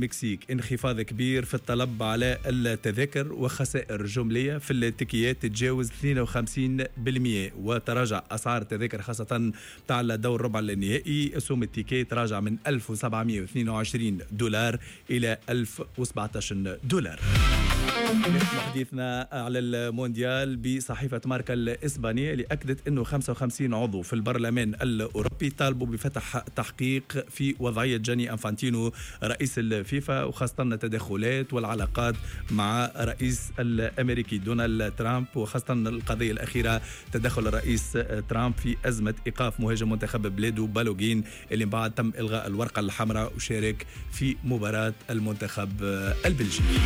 المكسيك انخفاض كبير في الطلب على التذاكر وخسائر جملية في التيكيات تتجاوز 52%، وتراجع أسعار التذاكر خاصة تاع الدور ربع النهائي. سوم ال ticket تراجع من 1722 دولار إلى 1017 دولار. حديثنا على المونديال بصحيفة ماركا الإسبانية اللي أكدت أنه 55 عضو في البرلمان الأوروبي طالبوا بفتح تحقيق في وضعية جاني أنفانتينو رئيس الفيفا، وخاصة التدخلات والعلاقات مع الرئيس الأمريكي دونالد ترامب، وخاصة القضية الأخيرة تدخل الرئيس ترامب في أزمة إيقاف مهاجم منتخب بلاده بالوغين اللي بعد تم إلغاء الورقة الحمراء وشارك في مباراة المنتخب البلجيكي.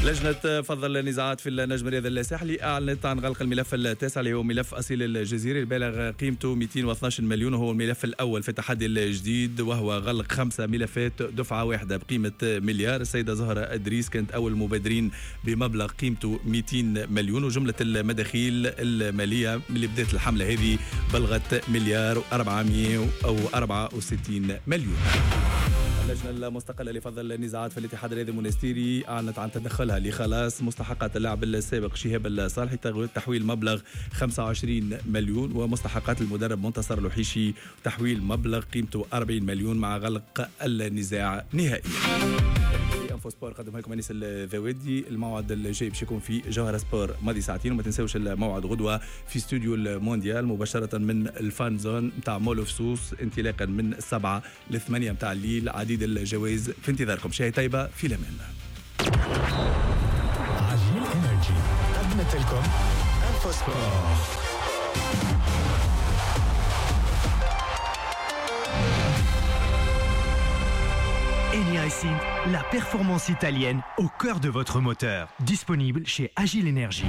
لجنة فض النزاعات في النجم الرياضي الساحلي أعلنت عن غلق الملف التاسع اللي هو ملف أصيل الجزيري البالغ قيمته 212 مليون، وهو الملف الأول في التحدي الجديد، وهو غلق 5 ملفات دفعة واحدة بقيمة مليار. السيدة زهرة أدريس كانت أول المبادرين بمبلغ قيمته 200 مليون، وجملة المداخيل المالية اللي بدأت الحملة هذه بلغت 1,464 مليون. اللجنة المستقلة لفض النزاعات في الاتحاد الرياضي المونستيري أعلنت عن تدخلها لخلاص مستحقات اللاعب السابق شهاب الصالحي تحويل مبلغ 25 مليون، ومستحقات المدرب منتصر لوحيشي تحويل مبلغ قيمته 40 مليون مع غلق النزاع نهائيا. Info Sport قدمها لكم انيس الذوادي. الموعد الجاي باش يكون في جوهرة سبور ماضي ساعتين، وما تنساوش الموعد غدوه في استوديو المونديال مباشرة من ال fan zone نتاع مول فسوس انطلاقا من 7 ل 8 نتاع الليل. عديد الجوائز في انتظاركم. شاي طيبة في الامان. عجيل Energy قدمت لكم Info Sport. Eni Racing, la performance italienne au cœur de votre moteur. Disponible chez Agile Energy.